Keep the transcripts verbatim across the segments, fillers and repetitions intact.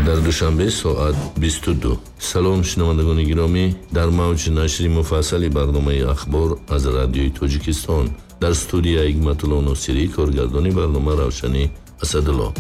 Дар Душанбе соат бисту ду. Салом, шунавандагони гиромӣ, дар мавҷ нашри муфассали барномаи «Ахбор» аз Радиои Тоҷикистон. Дар студия Ҳикматулло Носирӣ, коргардони барнома Равшанӣ Асадулло.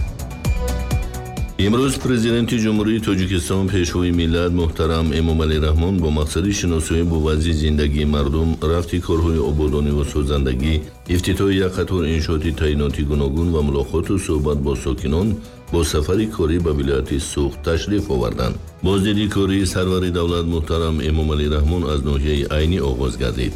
Имрӯз Президенти Ҷумҳурии Тоҷикистон, Пешвои миллат муҳтарам Эмомалӣ Раҳмон бо мақсади шиносоӣ бо вазъи зиндагии мардум, рафти корҳои ободониву созандагӣ, ифтитоҳи як қатор иншооти таъиноти гуногун ва мулоқоту суҳбат бо сокинон бо сафари корӣ ба вилояти Суғд ташриф оварданд. Боздиди кории сарвари давлат муҳтарам Эмомалӣ Раҳмон аз ноҳияи Айнӣ оғоз гардид.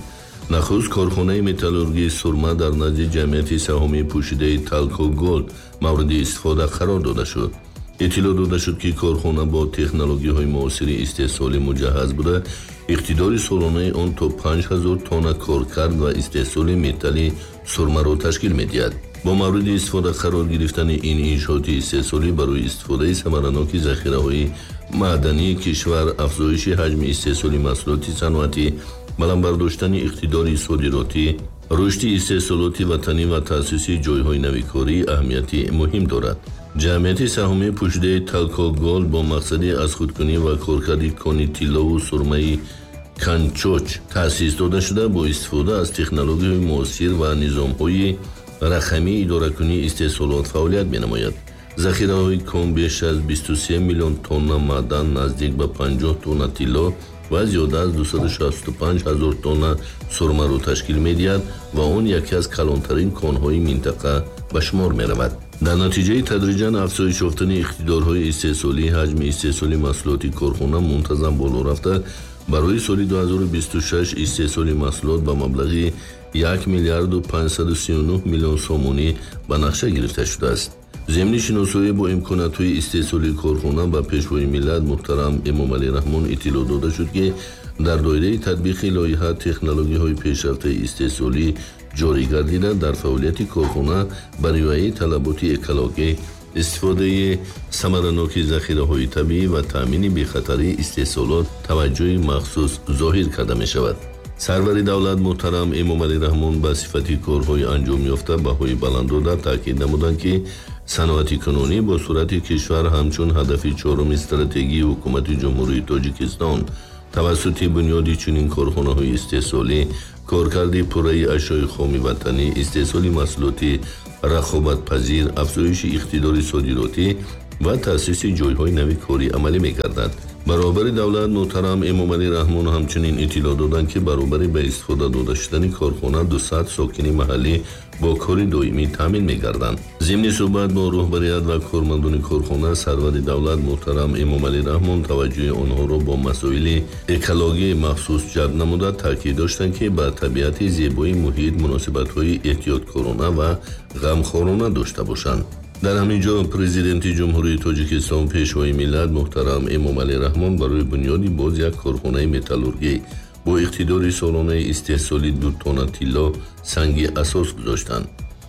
Нахуст корхонаи металлургии сурма дар назди ҷамъияти саҳомии пӯшидаи «Талко Голд» мавриди истифода қарор дода шуд. Иттилоъ дода шуд, ки корхона бо технологияҳои муосири истеҳсолӣ муҷаҳҳаз буда, иқтидори солонаи он то панҷ ҳазор тонна коркард ва истеҳсоли металли сурмаро ташкил медиҳад. Бо мавриди истифода қарор гирифтани ин иншооти истеҳсолӣ барои истифодаи самараноки захираҳои маъдании кишвар, афзоиши ҳаҷми истеҳсоли маҳсулоти саноатӣ, баланд бардоштани иқтидори содиротӣ, рушди истеҳсолоти ватанӣ ва таъсиси ҷойҳои нави корӣ аҳамияти муҳим дорад. Ҷамъияти саҳомии пӯшидаи «Талко Голд» бо мақсади аз худкунӣ ва коркарди кони тиллову сурмаи Канчоч таъсис дода шуда, бо истифода аз технологияҳои муосир ва низомҳои рақамии идоракунии истеҳсолот фаъолият менамояд. Захираҳои кон беш аз бисту се миллион тонна маъдан, наздик ба панҷоҳ тонна тилло ва зиёда аз дусаду шасту панҷ ҳазор тонна сурмаро ташкил медиҳад ва он яке аз калонтарин конҳои минтақа ба шумор меравад. Дар натиҷаи тадриҷан афзоиш ёфтани иқтидорҳои истеҳсолӣ, ҳаҷми истеҳсоли маҳсулоти корхона мунтазам боло рафта, барои соли ду ҳазору бисту шаш истеҳсоли маҳсулот ба маблағи як миллиарду панҷсаду сию нӯҳ миллион сомонӣ ба нақша гирифта шудааст. Зимни шиносоӣ бо имкониятҳои истеҳсолии корхона ба Пешвои миллат муҳтарам Эмомалӣ Раҳмон иттилоъ дода шуд, ки дар доираи татбиқи лоиҳа технологияҳои пешрафтаи истеҳсолӣ ҷорӣ гардида, дар фаъолияти корхона ба риояи талаботи экологӣ, истифодаи самараноки захираҳои табиӣ ва таъмини бехатарии истеҳсолот таваҷҷӯҳи махсус зоҳир карда мешавад. Сарвари давлат муҳтарам Эмомалӣ Раҳмон ба сифати корҳои анҷомёфта баҳои баланд дода, таъкид намуданд, ки саноати кунунӣ бо суръати кишвар ҳамчун ҳадафи чоруми стратегии ҳукумати Ҷумҳурии Тоҷикистон тавассути бунёди чунин корхонаҳои истеҳсолӣ, коркарди пурраи ашёи хоми ватанӣ, истеҳсоли маҳсулоти рақобатпазир, афзоиши иқтидори содиротӣ ва таъсиси ҷойҳои нави корӣ амалӣ мегардад. Баробари давлат муҳтарам Эмомалӣ Раҳмон ҳамчунин иттилоъ доданд, ки баробари ба истифода дода шудани корхона дусад сокини маҳаллӣ бо кори доимӣ таъмин мегарданд. Зимни суҳбат бо роҳбарият ва кормандони корхона сарвари давлат муҳтарам Эмомалӣ Раҳмон таваҷҷӯҳи онҳоро бо масоили экологии махсус ҷалб намуда, таъкид доштанд, ки ба табиати зебои муҳит муносибатҳои эҳтиёткорона ва ғамхорона дошта бошанд. Дар ҳамин ҷо Президенти Ҷумҳурии Тоҷикистон, Пешвои миллат муҳтарам Эмомалӣ Раҳмон барои бунёди боз як корхонаи металлургӣ бо иқтидори солонаи истеҳсоли ду тонна тилло санги асос гузоштанд.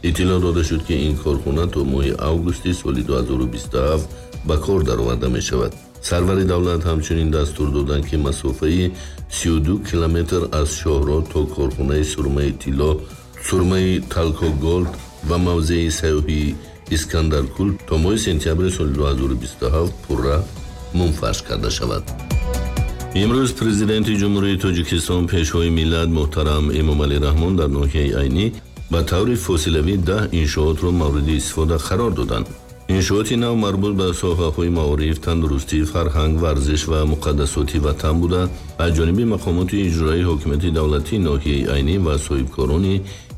Иттилоъ дода шуд, ки ин корхона то моҳи августи соли ду ҳазору бисту ҳафт ба кор дароварда мешавад. Сарвари давлат ҳамчунин дастур доданд, ки масофаи сию ду километр аз шоҳроҳ то корхонаи сурмаи тилло, сурмаи Талко Голд ва мавзеи сайёҳии Искандаркул то моҳи сентябри соли ду ҳазору бисту ҳафт пурра мунфарш карда шавад. Имрӯз Президенти Ҷумҳурии Тоҷикистон, Пешвои миллат муҳтарам Эмомалӣ Раҳмон дар ноҳияи Айнӣ ба таври фосилавӣ даҳ иншоотро мавриди истифода қарор доданд. Иншооти нав марбут ба соҳаҳои маориф, тандурустӣ, фарҳанг, варзиш ва муқаддасоти ватан буда, аз ҷониби мақомоти иҷроии ҳокимияти давлатии ноҳияи Айнӣ ва соҳибкорони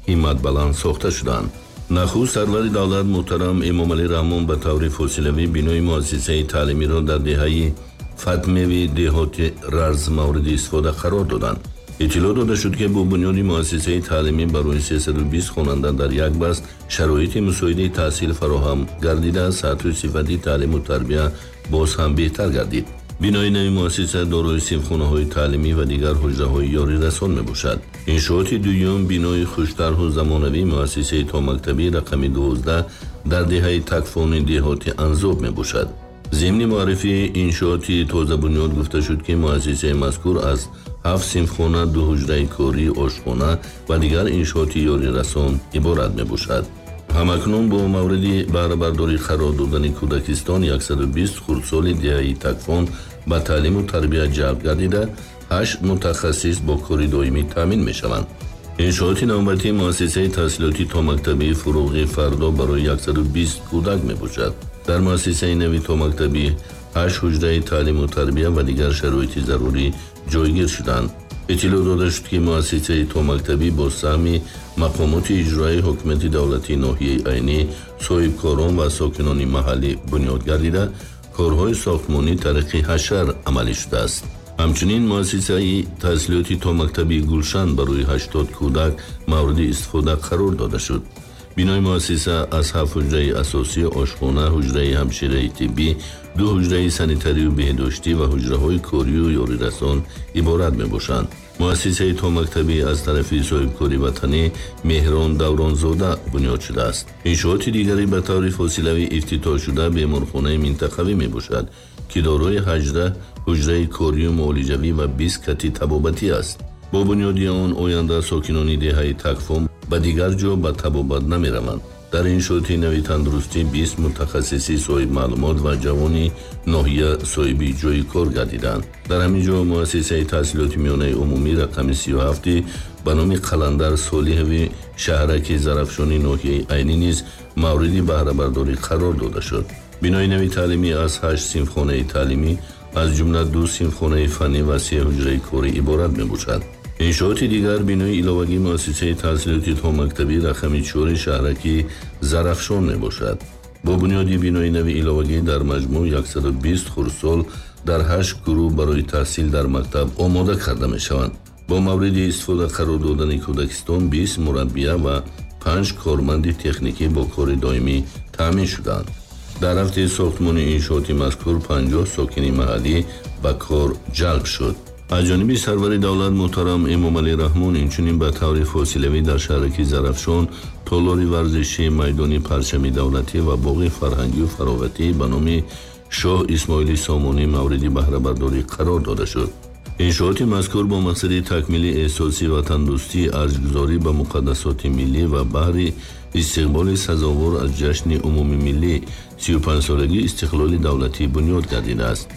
ҳимматбаланд сохта шудаанд. Нахуст сарвари давлат муҳтарам Эмомалӣ Раҳмон ба таври фосилавӣ бинои муассисаи таълимиро дар деҳаи Фатмеви деҳоти Рарз мавриди истифода қарор доданд. Иттилоъ дода шуд, ки бо бунёди муассисаи таълимӣ барои сесаду бист хонанда дар як баст шароити мусоиди таҳсил фароҳам гардида, сатҳу сифати таълиму тарбия боз ҳам беҳтар гардид. Бинои нави муассиса дорои синфхонаҳои таълимӣ ва дигар ҳуҷраҳои ёрирасон мебошад. Иншооти дуюм бинои хуштарҳу замонавии муассисаи томактабӣ рақами дувоздаҳ дар деҳаи Такфони деҳоти Анзоб мебошад. Зимни муаррифии иншооти тозабунёд гуфта шуд, ки муассисаи мазкур аз Ҳафт синфхона, ду ҳуҷраи корӣ, ошхона ва дигар иншооти ёрирасон иборат мебошад. Ҳамакнун бо мавриди баҳрабардорӣ қарор додани кӯдакистон яксаду бист хурдсоли деҳаи Такфон ба таълиму тарбия ҷалб гардида, ҳашт мутахассис бо кори доимӣ таъмин мешаванд. Иншооти навбатии муассисаи таҳсилоти томактабии Фуруғи Фардо барои яксаду бист кӯдак мебошад. Дар муассисаи нави томактабӣ ҳашт ҳуҷраи таълиму тарбия ва дигар шароити зарурӣ ҷойгир шуданд. Иттилоъ дода шуд, ки муассисаи томактабӣ бо саҳми мақомоти иҷроии ҳукумати давлатии ноҳияи Айнӣ, соҳибкорон ва сокинони маҳаллӣ бунёд гардида, корҳои сохтмонӣ тариқи ҳашар амалӣ шудааст. Ҳамчунин муассисаи таҳсилоти томактабии Гулшан барои ҳаштод кӯдак мавриди истифода қарор дода шуд. Бинои муассиса аз ҳафт ҳуҷраи асосӣ, ошхона, ҳуҷраи ҳамшираи тиббӣ, ду ҳуҷраи санитарию беҳдоштӣ ва ҳуҷраҳои корию ёрирасон иборат мебошанд. Муассисаи томактабӣ аз тарафи соҳибкори ватанӣ Меҳрон Давронзода бунёд шудааст. Иншооти дигаре ба таври фосилавӣ ифтитоҳ шуда беморхонаи минтақавӣ мебошад, ки дорои ҳаждаҳ ҳуҷраи корию муолиҷавӣ ва бист кати табобатӣ аст. Бо бунёди он оянда сокинони деҳаи Такфон ба дигар ҷо ба табобат намераванд. Дар иншооти нави тандурустӣ бист мутахассиси соҳибмаълумот ва ҷавони ноҳия соҳиби ҷойи кор гардиданд. Дар ҳамин ҷо муассисаи таҳсилоти миёнаи умумӣ рақами сию ҳафти ба номи Қаландар Солиҳови шаҳраки Зарафшони ноҳияи Айнӣ низ мавриди баҳрабардорӣ қарор дода шуд. Бинои нави таълимӣ аз ҳашт синфхонаи таълимӣ, аз ҷумла ду синфхонаи фаннӣ ва се ҳуҷраи корӣ иборат мебошад. Иншооти дигар бинои иловагии муассисаи таҳсилоти томактабӣ рақами чори шаҳраки Зарафшон мебошад. Бо бунёди бинои нави иловагӣ дар маҷмӯъ яксаду бист хурдсол дар ҳашт гурӯҳ барои таҳсил дар мактаб омода карда мешаванд. Бо мавриди истифода қарор додани кӯдакистон бист мураббия ва панҷ корманди техникӣ бо кори доимӣ таъмин шуданд. Дар рафти сохтмони иншооти мазкур панҷоҳ сокини маҳаллӣ ба кор ҷалб шуд. Аз ҷониби сарвари давлат муҳтарам Эмомалӣ Раҳмон инчунин ба таври фосилавӣ дар шаҳраки Зарафшон толори варзишӣ, майдони парчами давлатӣ ва боғи фарҳангию фароғатӣ ба номи Шоҳ Исмоили Сомонӣ мавриди баҳрабардорӣ қарор дода шуд. Иншооти мазкур бо мақсади такмили эҳсоси ватандӯстӣ, арҷгузорӣ ба муқаддасоти миллӣ ва баҳри истиқболи сазовор аз ҷашни умумимиллӣ сию панҷсолагии истиқлоли давлатӣ бунёд гардидааст.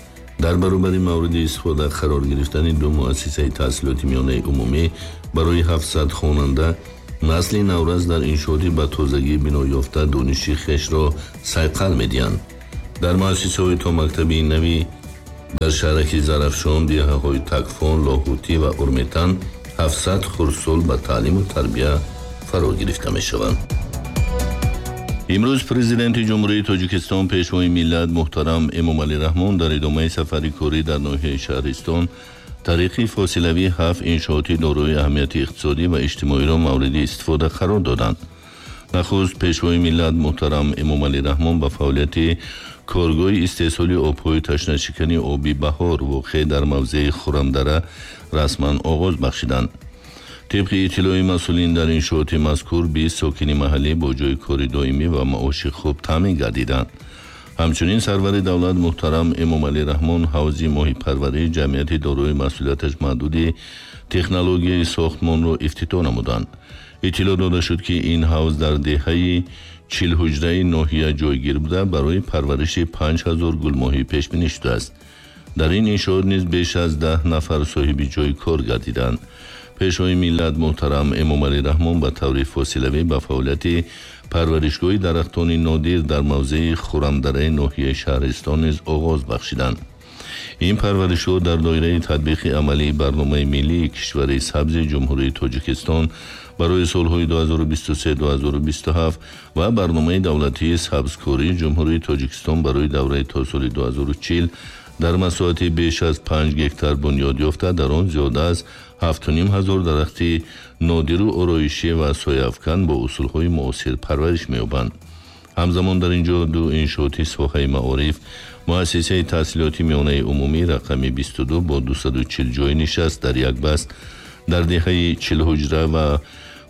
Дар баробари мавриди истифода қарор гирифтани ду муассисаи таҳсилоти миёнаи умумӣ барои ҳафтсад хонанда, насли наврас дар иншооти ба тозагӣ биноёфта дониши хешро сайқал медиҳанд. Дар муассисаҳои томактабии нави дар шаҳраки Зарафшон, деҳаҳои Такфон, Лоҳутӣ ва Урметан ҳафтсад хурдсол ба таълиму тарбия фаро гирифта мешаванд. Имрӯз Президенти Ҷумҳурии Тоҷикистон, Пешвои миллат муҳтарам Эмомалӣ Раҳмон дар идомаи сафари корӣ дар ноҳияи Шаҳристон тариқи фосилавӣ ҳафт иншооти дорои аҳамияти иқтисодӣ ва иҷтимоиро мавриди истифода қарор доданд. Нахуст Пешвои миллат муҳтарам Эмомалӣ Раҳмон ба фаъолияти коргоҳи истеҳсоли обҳои ташнашикани оби Баҳор воқеъ дар мавзеи Хурамдара расман оғоз бахшиданд. Тибқи иттилои масъулин дар иншооти мазкур бист сокини маҳаллӣ бо ҷойи кори доимӣ ва маоши хуб таъмин гардиданд. Ҳамчунин сарвари давлат муҳтарам Эмомалӣ Раҳмон ҳавзи моҳипарварии ҷамъияти дорои масъулияташ маҳдуди технологияи сохтмонро ифтитоҳ намуданд. Иттилоъ дода шуд, ки ин ҳавз дар деҳаи чилҳуҷраи ноҳия ҷойгир буда, барои парвариши панҷ ҳазор гулмоҳӣ пешбинӣ шудааст. Дар ин иншоот низ беш аз даҳ нафар соҳиби ҷойи кор гардиданд. Пешвои миллат муҳтарам Эмомалӣ Раҳмон ба таври фосилавӣ ба фаъолияти парваришгоҳи дарахтони нодир дар мавзеи Хурамдараи ноҳияи Шаҳристон низ оғоз бахшиданд. Ин парваришгоҳ дар доираи татбиқи амалии барномаи миллии кишвари сабзи Ҷумҳурии Тоҷикистон барои солҳои ду ҳазору бисту се ду ҳазору бисту ҳафт ва барномаи давлатии сабзкории Ҷумҳурии Тоҷикистон барои давраи то соли ду ҳазору чил дар масоҳати беш аз панҷ гектар бунёд ёфта, дар он зиёда аз ҳафту ним ҳазор дарахти нодиру ороишӣ ва сояафкан бо усулҳои муосир парвариш меёбанд. Ҳамзамон дар ин ҷо ду иншооти соҳаи маориф, муассисаи таҳсилоти миёнаи умумӣ рақами бисту ду бо дусаду чил ҷойи нишаст дар як баст дар деҳаи чилҳуҷра ва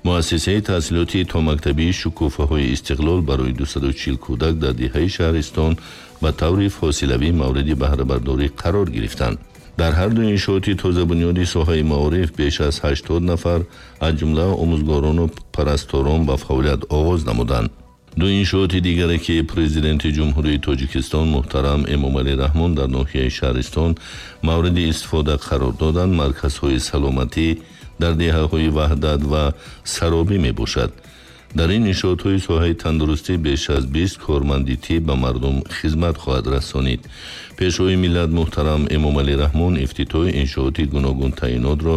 муассисаи таҳсилоти томактабии шукуфаҳои истиқлол барои дусаду чил кӯдак дар деҳаи Шаҳристон ба таври фосилавӣ мавриди баҳрабардорӣ қарор гирифтанд. Дар ҳар ду иншооти тозабунёди соҳаи маориф беш аз ҳаштод нафар аз ҷумла омӯзгорону парасторон ба фаъолият оғоз намуданд. Ду иншооти дигаре ки Президенти Ҷумҳурии Тоҷикистон муҳтарам Эмомалӣ Раҳмон дар ноҳияи Шаҳристон мавриди истифода қарор доданд, марказҳои саломатӣ дар деҳаҳои Ваҳдат ва Саробӣ мебошад. Дар ин иншоотҳои соҳаи тандурустӣ беш аз бист корманди тиб ба мардум хизмат хоҳад расонид. Пешвои миллат муҳтарам Эмомалӣ Раҳмон ифтитоҳи иншооти гуногунтаъинотро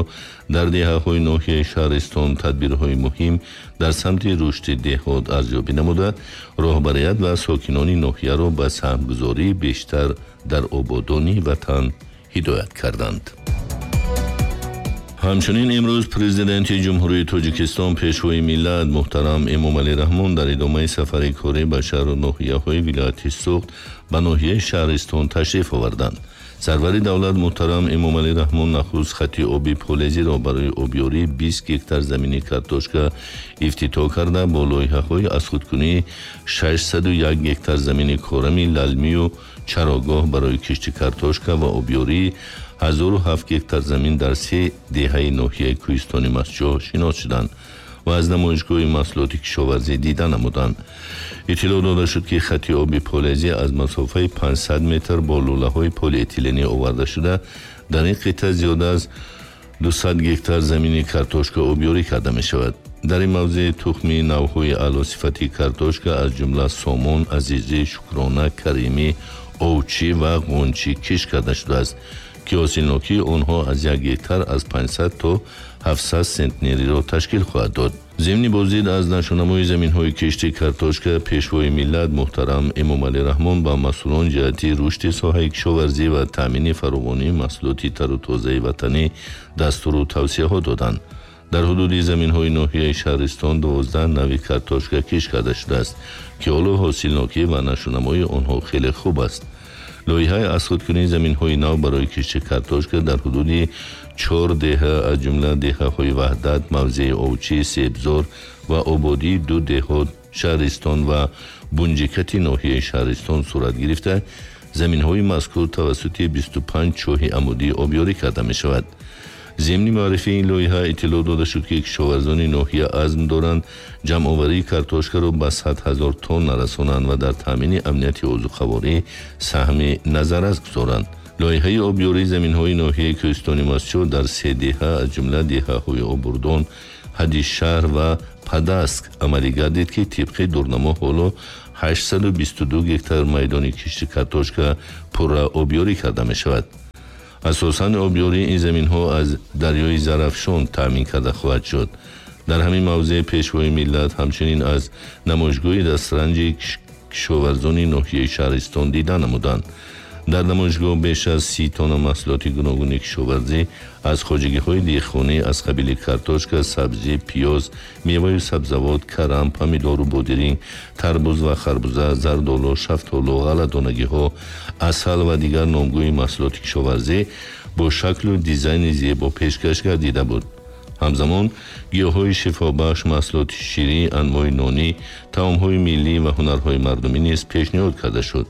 дар деҳаҳои ноҳияи Шаҳристон тадбирҳои муҳим дар самти рушди деҳот арзёбӣ намуда, роҳбарият ва сокинони ноҳияро ба саҳмгузории бештар дар ободонии ватан ҳидоят карданд. Ҳамчунин имрӯз Президенти Ҷумҳурии Тоҷикистон Пешвои миллат муҳтарам Эмомалӣ Раҳмон дар идомаи сафари корӣ ба шаҳру ноҳияҳои вилояти Суғд ба ноҳияи Шаҳристон ташриф оварданд. Сарвари давлат муҳтарам Эмомалӣ Раҳмон нахуст хати оби полезиро барои обёрии бист гектар замини картошка ифтитоҳ карда, бо лоиҳаҳои аз худкунии шашсаду як гектар замини корами лалмию чарогоҳ барои кишти картошка ва обёрии ҳазору ҳафт гектар замин дар се деҳаи ноҳияи Кӯҳистони Мастчоҳ шинос шуданд ва аз намоишгоҳи маҳсулоти кишоварзӣ дида намуданд. Иттилоъ дода шуд, ки хати оби полезӣ аз масофаи панҷсад метр бо лӯлаҳои полиэтиленӣ оварда шуда, дар ин қитъа зиёда аз дусад гектар замини картошка обёрӣ карда мешавад. Дар ин мавзеъ тухми навъҳои аълосифати картошка аз ҷумла сомон, азизӣ, шукрона, каримӣ, овчӣ ва ғунчӣ кишт карда шудааст, ки ҳосилнокии онҳо аз як гектар аз панҷсад то ҳафтсад сентнериро ташкил хоҳад дод. Зимни боздид аз нашъунамои заминҳои кишти картошка, Пешвои миллат муҳтарам Эмомалӣ Раҳмон ба масъулон ҷиҳати рушди соҳаи кишоварзӣ ва таъмини фаровонии маҳсулоти тару тозаи ватанӣ дастуру тавсияҳо доданд. Дар ҳудуди заминҳои ноҳияи Шаҳристон дувоздаҳ нави картошка кишт карда шудааст, ки ҳоло ҳосилнокӣ ва нашъунамои онҳо хеле хуб аст. Лоиҳаи аз худкунии заминҳои нав барои кишти картошка дар ҳудуди чор деҳа аз ҷумла деҳаҳои Ваҳдат, мавзеи Овчӣ, Себзор ва Ободии ду деҳот Шаҳристон ва Бунҷикати ноҳияи Шаҳристон сурат гирифта, заминҳои мазкур тавассути бисту панҷ чоҳи амудӣ обёрӣ карда мешавад. Зимни муаррифии ин лоиҳа иттилоъ дода шуд, ки кишоварзони ноҳия азм доранд ҷамъоварии картошкаро ба сад ҳазор тонна расонанд ва дар таъмини амнияти озуқаворӣ саҳми назаррас гузоранд. Лоиҳаи обёрии заминҳои ноҳияи Кӯҳистони Мастчоҳ дар се деҳа аз ҷумла деҳаҳои Обурдон, Ҳадишшаҳр ва Падаск амалӣ гардид, ки тибқи дурнамо ҳоло ҳаштсаду бисту ду гектар майдони кишти картошка пурра обёрӣ карда мешавад. Асосан обёрии ин заминҳо аз дарёи Зарафшон таъмин карда хоҳад шуд. Дар ҳамин мавзеъ Пешвои миллат ҳамчунин аз намоишгоҳи дастранҷи кишоварзони ноҳияи Шаҳристон дида намуданд. Дар намоишгоҳ беш аз си тонна маҳсулоти гуногуни кишоварзӣ аз хоҷагиҳои деҳқонӣ аз қабили картошка, сабзӣ, пиёз, меваю сабзавот, карам, помидору бодиринг, тарбуз ва харбуза, зардолу, шафтолу, ғалладонагиҳо, асал ва дигар номгӯи маҳсулоти кишоварзӣ бо шаклу дизайни зебо пешкаш гардида буд. Ҳамзамон гиёҳҳои шифобахш, маҳсулоти ширӣ, анвои нонӣ, таомҳои миллӣ ва ҳунарҳои мардумӣ низ пешниҳод карда шуд.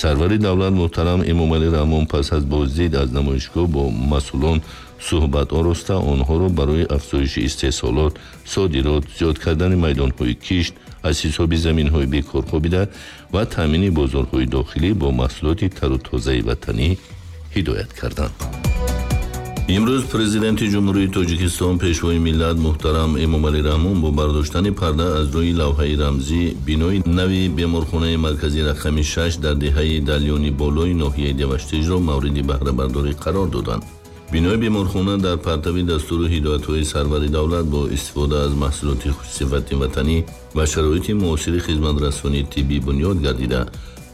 Сарвари давлат муҳтарам Эмомалӣ Раҳмон пас аз боздид аз намоишгоҳ бо масъулон суҳбат ороста, онҳоро барои афзоиши истеҳсолот, содирот, зиёд кардани майдонҳои кишт аз ҳисоби заминҳои бекор хобида ва таъмини бозорҳои дохилӣ бо маҳсулоти тару тозаи ватанӣ ҳидоят карданд. Имрӯз Президенти Ҷумҳурии Тоҷикистон Пешвои миллат муҳтарам Эмомалӣ Раҳмон бо бардоштани парда аз рӯи лавҳаи рамзӣ бинои нави беморхонаи марказии рақами шаш дар деҳаи Далёни болои ноҳияи Деваштижро мавриди баҳрабардорӣ қарор доданд. Бинои беморхона дар партави дастуру ҳидоятҳои сарвари давлат бо истифода аз маҳсулоти хушсифати ватанӣ ва шароити муосири хизматрасонии тиббӣ бунёд гардида,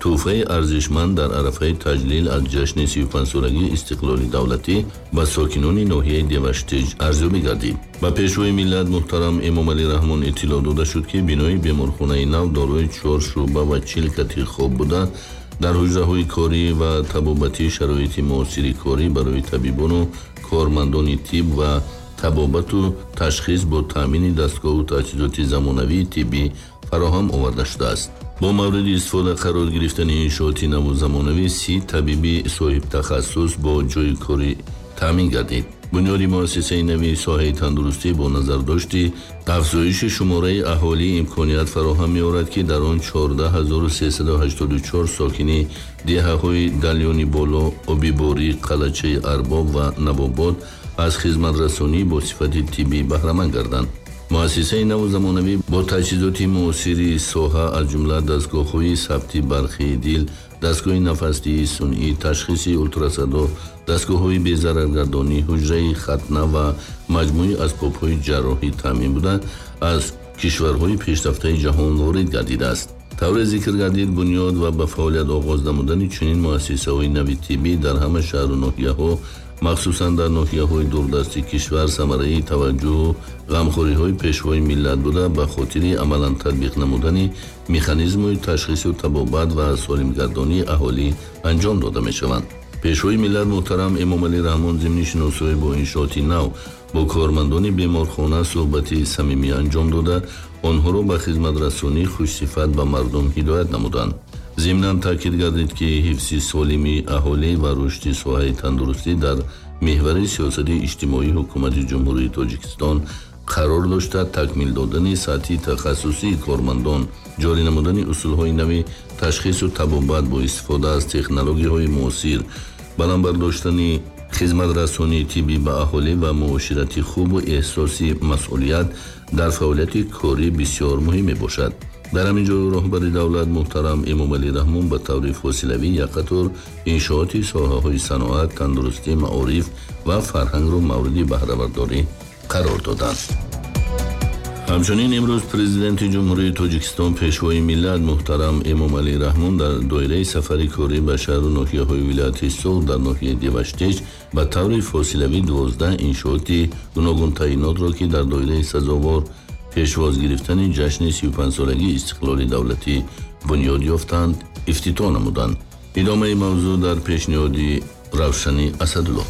тӯҳфаи арзишманд дар арафаи таҷлил аз ҷашни сию панҷсолагии истиқлоли давлатӣ ба сокинони ноҳияи Деваштиж арзёбӣ гардид. Ба Пешвои миллат муҳтарам Эмомалӣ Раҳмон иттилоъ дода шуд, ки бинои беморхонаи нав дорои чор шӯъба ва чил кати хоб буда, дар ҳуҷраҳои корӣ ва табобатӣ шароити муосири корӣ барои табибону кормандони тиб ва табобату ташхис бо таъмини дастгоҳу таҷҳизоти замонавии тиббӣ фароҳам оварда шудааст. Бо мавриди истифода қарор гирифтани иншооти наву замонавӣ си табиби соҳибтахассус бо ҷойи корӣ таъмин гардид. Бунёди муассисаи нави соҳаи тандурустӣ бо назардошти афзоиши шумораи аҳолӣ имконият фароҳам меорад, ки дар он чордаҳ ҳазору сесаду ҳаштоду чор сокини деҳаҳои Далёни Боло, Обиборӣ, Қалачаи Арбоб ва Навобод аз хизматрасонӣ бо сифати тиббӣ баҳраманд гарданд. Муассисаи наву замонавӣ бо таҷҳизоти муосири соҳа, аз ҷумла дастгоҳҳои сабти барқии дил, дастгоҳи нафасдиҳии сунъӣ, ташхиси ултрасадо, дастгоҳҳои безараргардонӣ, ҳуҷраи хатна ва маҷмӯи асбобҳои ҷарроҳӣ таъмин буда, аз кишварҳои пешрафтаи ҷаҳон ворид гардидааст. Тавре зикр гардид, бунёд ва ба фаъолият оғоз намудани чунин муассисаҳои нави тиббӣ дар ҳама шаҳру ноҳияҳо, махсусан дар ноҳияҳои дурдасти кишвар, самараи таваҷҷӯҳу ғамхориҳои пешвои миллат буда, ба хотири амалан татбиқ намудани механизмҳои ташхису табобат ва солимгардонии аҳолӣ анҷом дода мешаванд. Пешвои миллат муҳтарам Эмомалӣ Раҳмон зимни шиносоӣ бо иншооти нав бо кормандони беморхона суҳбати самимӣ анҷом дода, онҳоро ба хизматрасонии хушсифат ба мардум ҳидоят намуданд. Зимнан таъкид гардид, ки ҳифзи солими аҳолӣ ва рушди соҳаи тандурустӣ дар меҳвари сиёсати иҷтимоии ҳукумати Ҷумҳурии Тоҷикистон қарор дошта, такмил додани сатҳи тахассусии кормандон, ҷорӣ намудани усулҳои нави ташхису табобат бо истифода аз технологияҳои муосир, баланд бардоштани хизматрасонии тиббӣ ба аҳолӣ ва муоширати хубу эҳсоси масъулият дар фаъолияти корӣ бисёр муҳим мебошад. Дар ҳамин ҷо роҳбари давлат муҳтарам Эмомалӣ Раҳмон ба таври фосилавӣ як қатор иншооти соҳаҳои саноат, тандурустӣ, маориф ва фарҳангро мавриди баҳрабардорӣ қарор доданд. Ҳамчунин имрӯз Президенти Ҷумҳурии Тоҷикистон, Пешвои миллат муҳтарам Эмомалӣ Раҳмон дар доираи сафари корӣ ба шаҳру ноҳияҳои вилояти Суғд дар ноҳияи Деваштич ба таври фосилавӣ дувоздаҳ иншооти гуногунтаъинотро, ки дар доираи сазовор пешвоз гирифтани ҷашни сию панҷсолагии истиқлоли давлатӣ бунёд ёфтанд, ифтитоҳ намуданд. Идомаи мавзӯъ дар пешниҳоди Равшани Асадулло.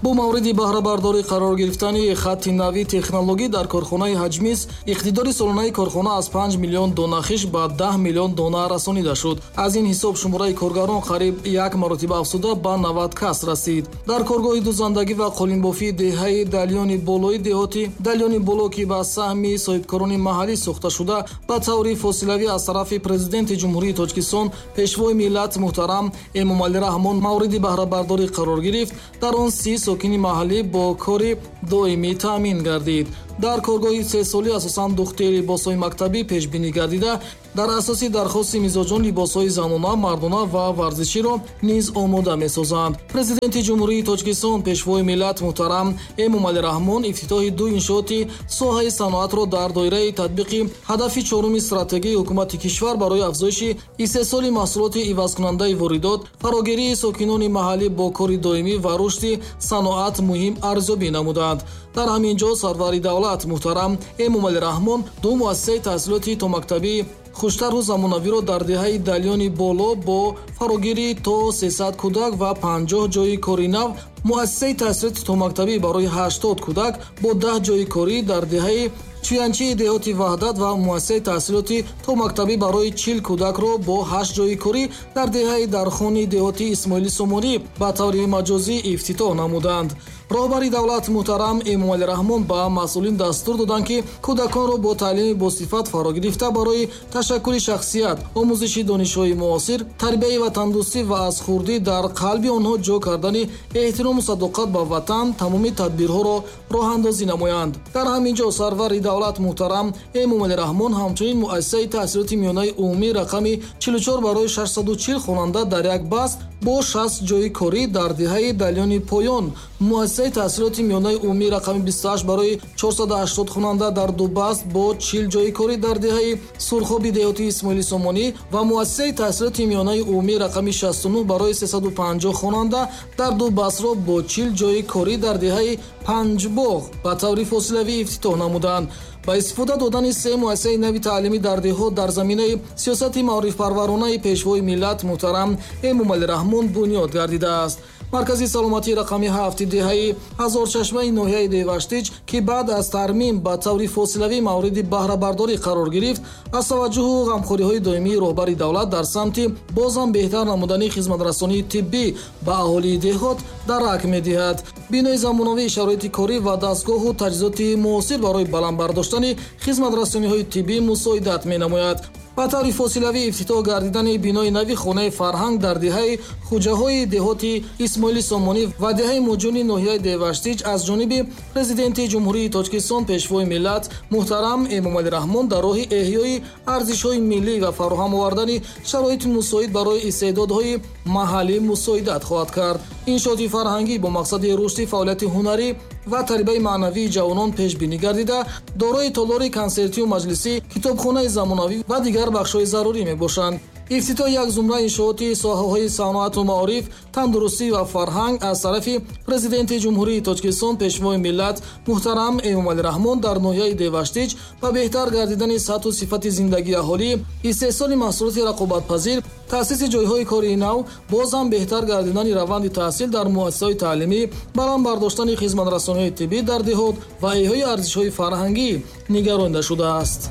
Бо мавриди баҳрабардорӣ қарор гирифтани хатти нави технологӣ дар корхонаи Ҳаҷмис, иқтидори солонаи корхона аз панҷ миллион дона хиш ба даҳ миллион дона расонида шуд. Аз ин ҳисоб шумораи коргарон қариб як маротиба афзуда ба навад кас расид. Дар коргоҳи дузандагӣ ва қолинбофии деҳаи Далёни Болои деҳоти Далёни Боло, ки ба саҳми соҳибкорони маҳаллӣ сохта шуда, ба таври фосилавӣ аз тарафи Президенти Ҷумҳурии Тоҷикистон, Пешвои миллат муҳтарам Эмомалӣ Раҳмон мавриди баҳрабардорӣ қарор гирифт, дар он си сокини маҳаллӣ бо кори доимӣ таъмин гардид. Дар коргоҳи сесолӣ асосан духти либосҳои мактабӣ пешбинӣ гардида, дар асоси дархости мизоҷон либосҳои занона, мардона ва варзиширо низ омода месозанд. Президенти Ҷумҳурии Тоҷикистон, Пешвои миллат муҳтарам Эмомалӣ Раҳмон ифтитоҳи ду иншооти соҳаи саноатро дар доираи татбиқи ҳадафи чоруми стратегияи ҳукумати кишвар барои афзоиши истеҳсоли маҳсулоти ивазкунандаи воридот, фарогирии сокинони маҳаллӣ бо кори доимӣ ва рушди саноат муҳим арзёбӣ намуданд. Дар ҳамин ҷо сарвари давлат муҳтарам Эмомалӣ Раҳмон ду муассисаи таҳсилоти томактабӣ хуштарҳу замонавиро дар деҳаи Далёни Боло бо фарогирии то сесад кӯдак ва панҷоҳ ҷойи кори нав, муассисаи таҳсилоти томактабӣ барои ҳаштод кӯдак бо даҳ ҷойи корӣ дар деҳаи Чуянчии деҳоти Ваҳдат ва муассисаи таҳсилоти томактабӣ барои чил кӯдакро бо ҳашт ҷойи корӣ дар деҳаи Дархони деҳоти Исмоили Сомонӣ ба таври маҷозӣ ифтитоҳ намуданд. Роҳбари давлат муҳтарам Эмомалӣ Раҳмон ба масъулин дастур доданд, ки кӯдаконро бо таълими босифат фаро гирифта барои ташаккули шахсият, омӯзиши донишҳои муосир, тарбияи ватандӯстӣ ва аз хурдӣ дар қалби онҳо ҷо кардани эҳтирому садоқат ба ватан тамоми тадбирҳоро роҳандозӣ намоянд. Дар ҳамин ҷо сарвари давлат муҳтарам Эмомалӣ Раҳмон ҳамчунин муассисаи таҳсилоти миёнаи умумӣ рақами чилу чор барои шашсаду чил хонанда дар як баст бо шаст ҷойи корӣ дар деҳаи Далёни Поён, муассисаи таҳсилоти миёнаи умумӣ рақами бисту ҳашт барои чорсаду ҳаштод хонанда дар ду баст бо чил ҷойи корӣ дар деҳаи Сурхоби деҳоти Исмоили Сомонӣ ва муассисаи таҳсилоти миёнаи умумӣ рақами шасту нӯҳ барои сесаду панҷоҳ хонанда дар ду бастро бо чил ҷойи корӣ дар деҳаи Панҷбоғ ба таври фосилавӣ ифтитоҳ намуданд. Ба истифода додани се муассисаи нави таълимӣ дар деҳот дар заминаи сиёсати маорифпарваронаи Пешвои миллат муҳтарам Эмомалӣ Раҳмон бунёд гардидааст. Маркази саломатии рақами ҳафти деҳаи Ҳазорчашмаи ноҳияи Деваштич, ки баъд аз тармим ба таври фосилавӣ мавриди баҳрабардорӣ қарор гирифт, аз таваҷҷӯҳу ғамхориҳои доимии роҳбари давлат дар самти боз ҳам беҳтар намудани хизматрасонии тиббӣ ба аҳолии деҳот дарак медиҳад. Бинои замонавии шароити корӣ ва дастгоҳу таҷҳизоти муосир барои баланд бардоштани хизматрасониҳои тиббӣ мусоидат менамояд. Ба таври фосилавӣ ифтитоҳ гардидани бинои нави хонаи фарҳанг дар деҳаи Хуҷаҳои деҳоти Исмоили Сомонӣ ва деҳаи Муҷуни ноҳияи Деваштич аз ҷониби президенти Ҷумҳурии Тоҷикистон, пешвои миллат муҳтарам Эмомалӣ Раҳмон дар роҳи эҳёи арзишҳои миллӣ ва фароҳам овардани шароити мусоид барои истеъдодҳои маҳаллӣ мусоидат хоҳад кард. Иншооти фарҳангӣ бо мақсади рушди фаъолияти ҳунарӣ ва тарбияи маънавии ҷавонон пешбинӣ гардида, дорои толори консертию маҷлисӣ, китобхонаи замонавӣ ва дигар бахшҳои зарурӣ мебошанд. Ифтитоҳи як зумра иншооти соҳаҳои саноату маориф, тандурустӣ ва фарҳанг аз тарафи президенти Ҷумҳурии Тоҷикистон, пешвои миллат муҳтарам Эмомалӣ Раҳмон дар ноҳияи Деваштич ба беҳтар гардидани сатҳу сифати зиндагии аҳолӣ, истеҳсоли маҳсулоти рақобатпазир, таъсиси ҷойҳои кори нав, боз ҳам беҳтар гардидани раванди таҳсил дар муассисаҳои таълимӣ, баланд бардоштани хизматрасониҳои тиббӣ дар деҳот ва эҳёи арзишҳои фарҳангӣ нигаронида шудааст.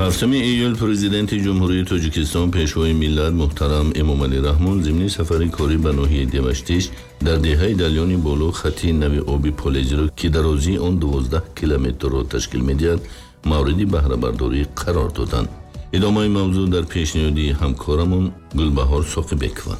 ҳафтуми июл президенти Ҷумҳурии Тоҷикистон, пешвои миллат муҳтарам Эмомалӣ Раҳмон зимни сафари корӣ ба ноҳияи Деваштич дар деҳаи Далёни Боло хати нави оби полезиро, ки дарозии он дувоздаҳ километрро ташкил медиҳад, мавриди баҳрабардорӣ қарор доданд. Идомаи мавзӯъ дар пешниҳоди ҳамкорамон Гулбаҳор Соқибекова.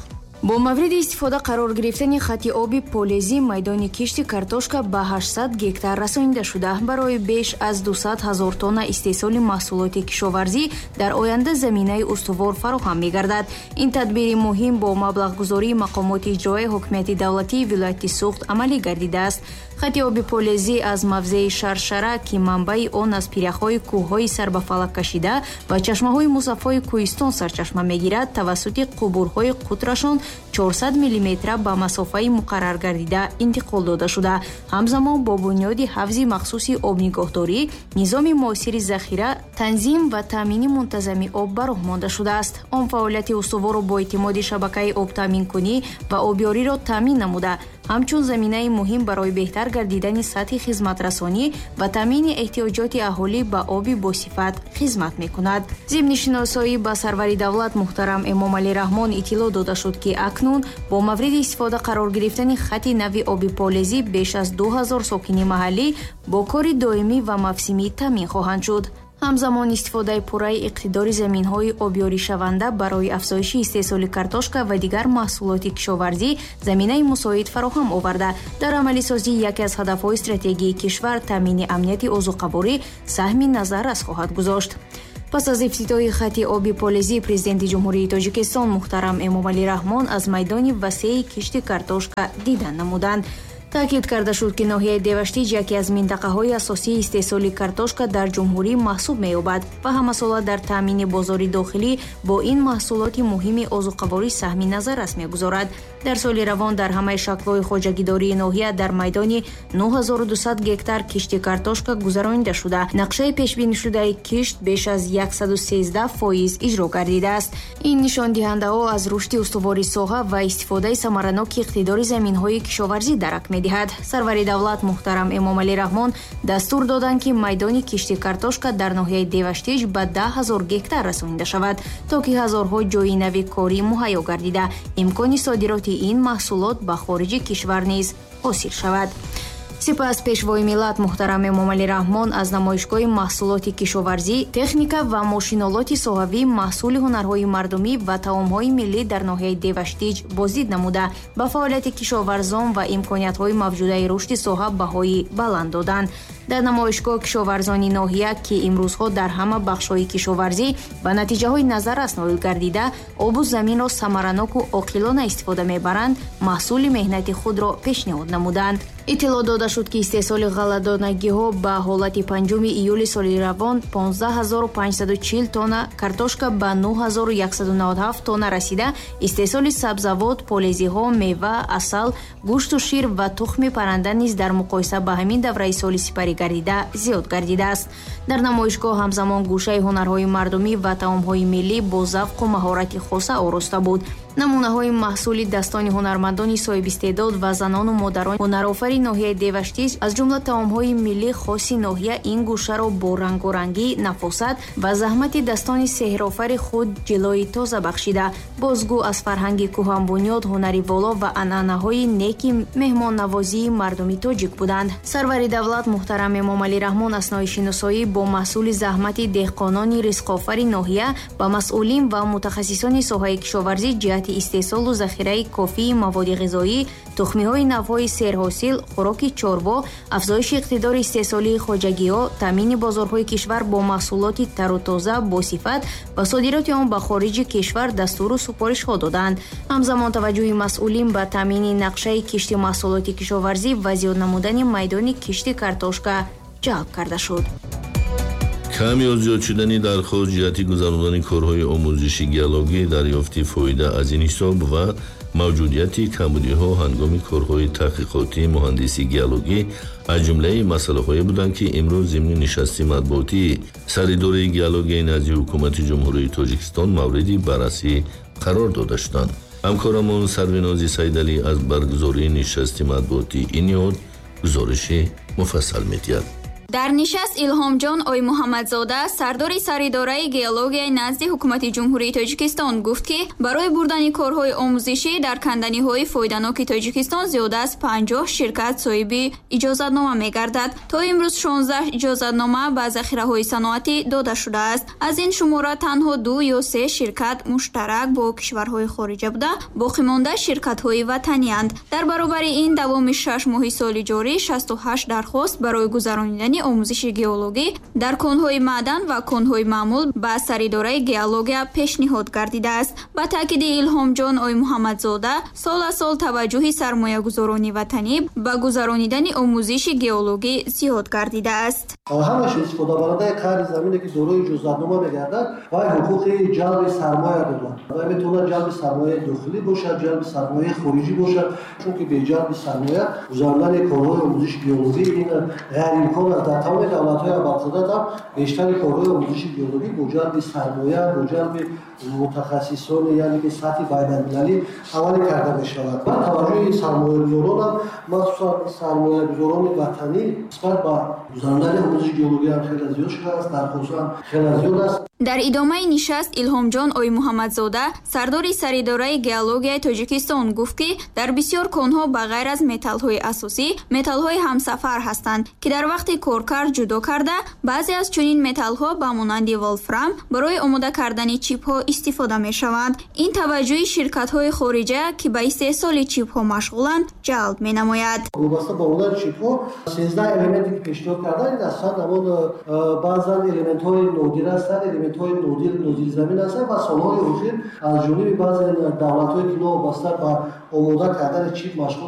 Бо мавриди истифода қарор гирифтани хати оби полезӣ майдони кишти картошка ба ҳаштсад гектар расонида шуда, барои беш аз дусад ҳазор тонна истеҳсоли маҳсулоти кишоварзӣ дар оянда заминаи устувор фароҳам мегардад. Ин тадбири муҳим бо маблағгузории мақомоти иҷроияи ҳукумати давлатии вилояти Суғд амалӣ гардидааст. Хати оби полезӣ аз мавзеи Шаршара, ки манбаи он аз пиряхҳои кӯҳҳои сарбафалак кашида ва чашмаҳои мусаффои кӯҳистон сарчашма мегирад, тавассути қубурҳои қутрашон чорсад миллиметра ба масофаи муқаррар гардида интиқол дода шуда. Ҳамзамон бо бунёди ҳавзи махсуси обнигоҳдорӣ, низоми муосири захира, танзим ва таъмини мунтазами об ба роҳ монда шудааст. Он фаъолияти устуворро бо эътимоди шабакаи обтаъминкунӣ ва обёриро таъмин намуда, ҳамчун заминаи муҳим барои беҳтар гардидани сатҳи хизматрасонӣ ва таъмини эҳтиёҷоти аҳолӣ ба оби босифат хизмат мекунад. Зимни шиносоӣ ба сарвари давлат муҳтарам Эмомалӣ Раҳмон иттилоъ дода шуд, ки акнун бо мавриди истифода қарор гирифтани хати нави оби полезӣ беш аз ду ҳазор сокини маҳаллӣ бо кори доимӣ ва мавсимӣ таъмин хоҳанд шуд. Ҳамзамон истифодаи пурраи иқтидори заминҳои обёришаванда барои афзоиши истеҳсоли картошка ва дигар маҳсулоти кишоварзӣ заминаи мусоид фароҳам оварда, дар амалисозии яке аз ҳадафҳои стратегии кишвар таъмини амнияти озуқаворӣ саҳми назаррас хоҳад гузошт. Пас аз ифтитоҳи хати оби полезӣ президенти Ҷумҳурии Тоҷикистон муҳтарам Эмомалӣ Раҳмон аз майдони васеи кишти картошка дидан намуданд. Таъкид карда шуд, ки ноҳияи Деваштич яке аз минтақаҳои асосии истеҳсоли картошка дар ҷумҳурӣ маҳсуб меёбад ва ҳамасола дар таъмини бозори дохилӣ бо ин маҳсулоти муҳими озуқаворӣ саҳми назаррас мегузорад. Дар соли равон дар ҳамаи шаклҳои хоҷагидории ноҳия дар майдони нӯҳ ҳазору дусад гектар кишти картошка гузаронида шуда, нақшаи пешбинишудаи кишт беш аз яксаду сездаҳ фоиз иҷро гардидааст. Ин нишондиҳандаҳо аз рушди устувори соҳа ва истифодаи самараноки иқтидори заминҳои кишоварзӣ дарак медиҳад. Сарвари давлат муҳтарам Эмомалӣ Раҳмон дастур доданд, ки майдони кишти картошка дар ноҳияи Деваштич ба даҳ ҳазор гектар расонида шавад, то ки ҳазорҳо ҷойи нави корӣ муҳайё гардида, имкони содироти ин маҳсулот ба хориҷи кишвар низ ҳосил шавад. Сипас пешвои миллат муҳтарам Эмомалӣ Раҳмон аз намоишгоҳи маҳсулоти кишоварзӣ, техника ва мошинолоти соҳавӣ, маҳсули ҳунарҳои мардумӣ ва таомҳои миллӣ дар ноҳияи Деваштич боздид намуда, ба фаъолияти кишоварзон ва имкониятҳои мавҷудаи рушди соҳа баҳои баланд доданд. Дар намоишгоҳ кишоварзони ноҳия, ки имрӯзҳо дар ҳама бахшҳои кишоварзӣ ба натиҷаҳои назаррас ноил гардида, обу заминро самараноку оқилона истифода мебаранд, маҳсули меҳнати худро пешниҳод намуданд. Иттилоъ дода шуд, ки истеҳсоли ғалладонагиҳо ба ҳолати панҷуми июли соли равон понздаҳ ҳазору панҷсаду чил тонна, картошка ба нӯҳ ҳазору яксаду наваду ҳафт тонна расида, истеҳсоли сабзавот, полезиҳо, мева, асал, гӯшту шир ва тухми парранда низ дар муқоиса ба ҳамин давраи соли сипарӣ гардида зиёд гардидааст. Дар намоишгоҳ ҳамзамон гӯшаи ҳунарҳои мардумӣ ва таомҳои миллӣ бо завқу маҳорати хоса ороста буд. Намунаҳои маҳсули дастони ҳунармандони соҳибистеъдод ва занону модарони ҳунарофари ноҳияи Деваштич, аз ҷумла таомҳои миллӣ хоси ноҳия, ин гӯшаро бо рангорангӣ, нафосат ва заҳмати дастони сеҳрофари худ ҷилои тоза бахшида, бозгӯ аз фарҳанги кӯҳанбунёд, ҳунари воло ва анъанаҳои неки меҳмоннавозии мардуми тоҷик буданд. Сарвари давлат муҳтарам Эмомалӣ Раҳмон аснои шиносоӣ бо маҳсули заҳмати деҳқонони ризқофари ноҳия ба масъулин ва мутахассисони соҳаи кишоварзӣ ҷиҳати истеҳсолу захираи кофии маводи ғизоӣ, тухмиҳои навъҳои серҳосил, хӯроки чорво, афзоиши иқтидори истеҳсолии хоҷагиҳо, таъмини бозорҳои кишвар бо маҳсулоти тару тоза босифат ва содироти он ба хориҷи кишвар дастуру супоришҳо доданд. Ҳамзамон таваҷҷӯҳи масъулин ба таъмини нақшаи кишти маҳсулоти кишоварзӣ ва зиёд намудани майдони кишти картошка ҷалб карда шуд. Кам ё зиёд шудани дархост ҷиҳати гузарондани корҳои омӯзиши геологӣ, дарёфти фоида аз ин ҳисоб ва мавҷудияти камбудиҳо ҳангоми корҳои таҳқиқотии муҳандиси геологӣ аз ҷумлаи масъалаҳое буданд, ки имрӯз зимни нишасти матбуотии Саридораи геологияи назди Ҳукумати Ҷумҳурии Тоҷикистон мавриди баррасӣ қарор дода шуданд. Ҳамкорамон Сарвинози Сайдалӣ аз баргузории нишасти матбуотии ин ниҳод гузориши муфассал медиҳад. Дар нишаст Илҳомҷон Оймуҳаммадзода, сардори Саридораи геологияи назди Ҳукумати Ҷумҳурии Тоҷикистон гуфт, ки барои бурдани корҳои омӯзишӣ дар канданиҳои фоиданоки Тоҷикистон зиёда аз панҷоҳ ширкат соҳиби иҷозатнома мегардад. То имрӯз шонздаҳ иҷозатнома ба захираҳои саноатӣ дода шудааст. Аз ин шумора танҳо ду ё се ширкат муштарак бо кишварҳои хориҷа буда, боқимонда ширкатҳои ватанианд. Дар баробари ин давоми шаш моҳи соли ҷорӣ шасту ҳашт дархост барои гузаронидани омӯзиши геологӣ дар конҳои маъдан ва конҳои маъмул ба Саридораи геология пешниҳод гардидааст. Ба таъкиди Илҳомҷон Оймуҳаммадзода, сол аз сол таваҷҷӯҳи сармоягузорони ватанӣ ба гузаронидани омӯзиши геологӣ зиёд гардидааст. Ҳамаш истифодабарандаи қарзи замине, ки дорои иҷозатнома мегардад, вай ҳуқуқи ҷалби сармоя дорад. Вай метавонад ҷалби сармояи дохилӣ бошад, ҷалби сармояи хориҷӣ бошад, чунки бе ҷалби сармоя гузарондани корҳои омӯзиши геологӣ ин ғайриимкон аст. Дар тамоми давлатҳои абарқудрат ҳам бештари корҳои омӯзиши геологӣ бо ҷалби сармоя, бо ҷалби мутахассисони, яъне ки сатҳи байналмилалӣ амалӣ карда мешавад. Ва таваҷҷӯҳи сармоягузорон ҳам, махсусан сармоягузорони ватанӣ, нисбат ба гузарондани омӯзиши геологӣ ҳам хеле зиёд шудааст, дархостҳо ҳам хеле зиёд аст. Дар идомаи нишаст Илҳомҷон Оймуҳаммадзода, сардори Саридораи геологияи Тоҷикистон гуфт, ки дар бисёр конҳо ба ғайр аз металлҳои асосӣ металлҳои ҳамсафар ҳастанд, ки дар вақти коркард ҷудо карда, баъзе аз чунин металлҳо ба монанди волфрам барои омода кардани чипҳо истифода мешаванд. Ин таваҷҷӯҳи ширкатҳои хориҷа, ки ба истеҳсоли чипҳо машғуланд, ҷалб менамояд. Вобаста ба омодани чипҳо сездаҳ элементе, ки пешниҳод карданд, ин ҳастанд ҳамон баъзан элементҳои нодир ҳастанд, элементҳои нодир нодирзамин ҳастанд ва солҳои охир аз ҷониби баъзе давлатҳое, ки новобаста ба омода кардани чип машғул